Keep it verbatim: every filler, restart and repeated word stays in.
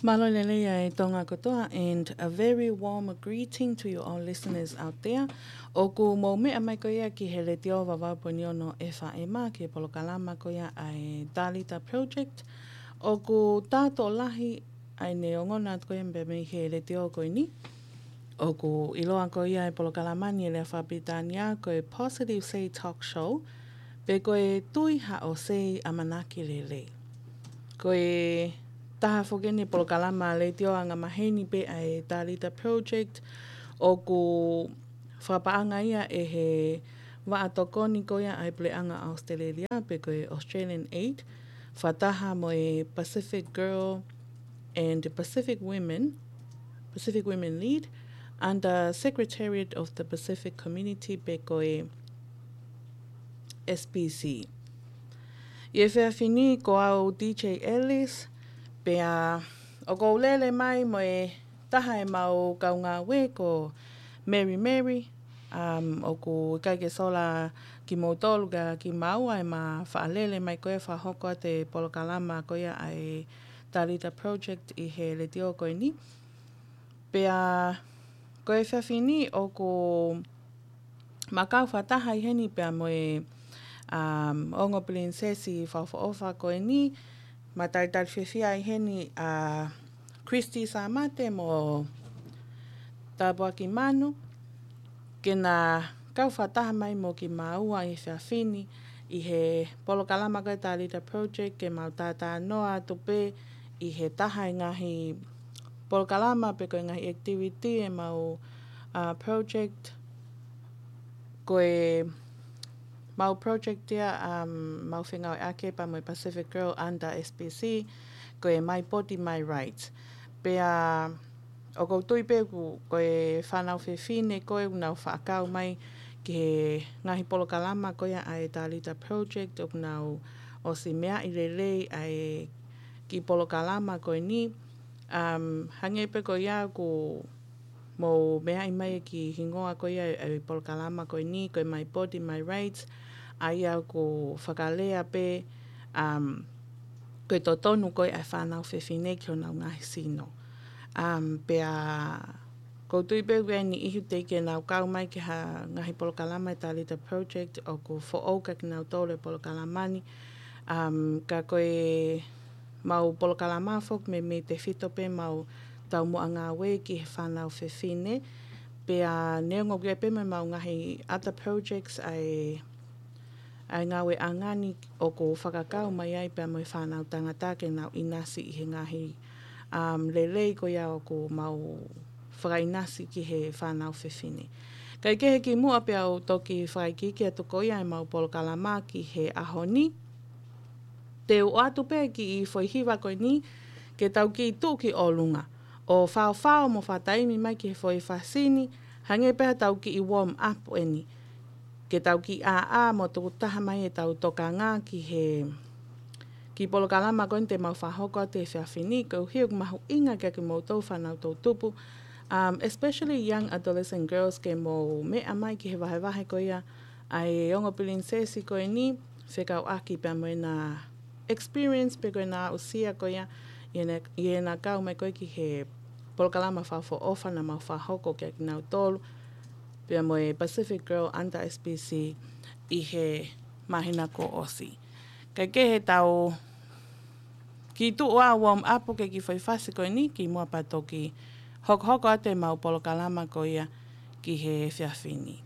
Mālō e lelei ʻa e Tonga kotoa, and a very warm greeting to you all listeners out there. ʻOku mou meʻa mai ko ia ki he Letiō Vavau Poini Ono F M, ki he polokalama ko ia ʻa e Talita Project. ʻOku tā tokolahi ʻa e neongo atu ko ia mei he letiō ko eni. ʻOku ʻiloa ko ia e polokalama ni ʻi he lea fakapilitānia ko e Positive Say Talk Show, pe ko e Tui Haʻo Say ʻAmanaki Lelei. Ko e taha foki eni e polokalama letiō angamaheni pē ʻa e Talita Project, ʻoku fakapaʻanga ia ʻe he vaʻa tokoni ko ia ʻa e Puleʻanga ʻAositelēlia, pe ko e Australian Aid, fakataha mo e Pacific Girl and Pacific Women, Pacific Women Lead, under Secretariat of the Pacific Community, pe ko e S P C. ʻI he efiafi ni ko au D J Ellis, pea ʻoku ou lele mai mo e taha e mau kaungāue ko Mary Mary, um, ʻoku ʻikai ke sola kimoutolu ka kimaua ʻema faʻa lele mai ko ē fakahoko atu e polokalama ko ia ʻa e Talita Project ʻi he letiō ko eni. Pea ko e efiafi ni ʻoku ma kau fakataha ai heni pea mo e, um, ongo pilinisesi fakaʻofoʻofa ko eni, ma talitali fiefia ai heni ʻa Christy Samate mo Tāpuaki Manu, ke na kau fakataha mai mo kimaua ʻi he efiafi ni ʻi he polokalama ko e Talita Project, ke mau talanoa atu pē ʻi he taha e ngaahi polokalama pe ko e ngaahi activity ʻemau, uh, project. Ko e mau project ia, um, mau fengāueʻaki pea mo e Pacific Girl under S P C, ko e My Body, My Rights. Pea ʻoku ou tui pē ʻoku, ko e fānau fefine ko ē ʻoku nau faʻa kau mai ki he ngaahi polokalama ko ia ʻa e Talita Project, ʻoku nau ʻosi meaʻi lelei ʻa e kiʻi polokalama ko eni. Um, hangē pē ko ia ʻoku mou meaʻi mai e kiʻi hingoa ko ia ʻo e polokalama ko eni, ko e My Body, My Rights, ʻa ia ʻoku fakalea pē, um, ko e totonu ko ē ʻa e fānau fefine ki honau ngaahi sino. Um, pea ʻoku ou tui pē ʻoku ʻi ai e niʻihi teʻeki ke nau kau mai ki ha ngaahi polokalama ʻa e Talita Project, ʻoku foʻou kia kinautolu e polokalama ni. Um, ka ko e mau polokalama foki meimei tefito pē mau taumuʻa ngāue ki he fānau fefine. Pea neongo ʻoku ʻi ai pē mo ʻemau ngaahi other projects ʻa e, ʻa e ngāueʻanga ni ʻoku fakakau mai ai pea mo e fānau tangata ke nau ʻinasi ʻi he ngaahi, um, lelei ko ia ʻoku mau fakaʻinasi ki he fānau fefine. Kae kehe kimuʻa pea u toki fakaikiiki atu ko ia ʻemau polokalama ki he ʻaho ni, te u ʻoatu pē kiʻi foʻi hiva ko eni ke tau kiʻi tuʻu ki ʻolunga ʻo faofao mo fakataimi mai ki he foʻi fasi ni, hangē pē haʻatau kiʻi warm up eni. Ke tau kiʻi ʻāʻā mo tuku taha mai ʻetau tokanga ki he kiʻi polokalama ko eni te mau fakahoko atu he efiafi ni, koeʻuhi ʻoku mahuʻinga kia kimoutolu fānau toʻutupu, um, especially young adolescent girls, ke mou meʻa mai ki he vahevahe ko ia ʻa e ongo pilinisesi ko eni, fekauʻaki pea mo ʻena experience pe ko ʻena aʻusia ko ia ʻi heʻena, ʻi heʻena kau mai ko ē ki he polokalama fakaʻofoʻofa naʻa mau fakahoko kia kinautolu pea mo e Pacific Girl under S P C ʻi he māhina kuo ʻosi. Kae kehe, tau kiʻi tuʻu ʻo warm up ke kiʻi foʻi fasi ko eni kimuʻa pea toki hokohoko atu ʻemau polokalama ko ia ki he efiafi ni.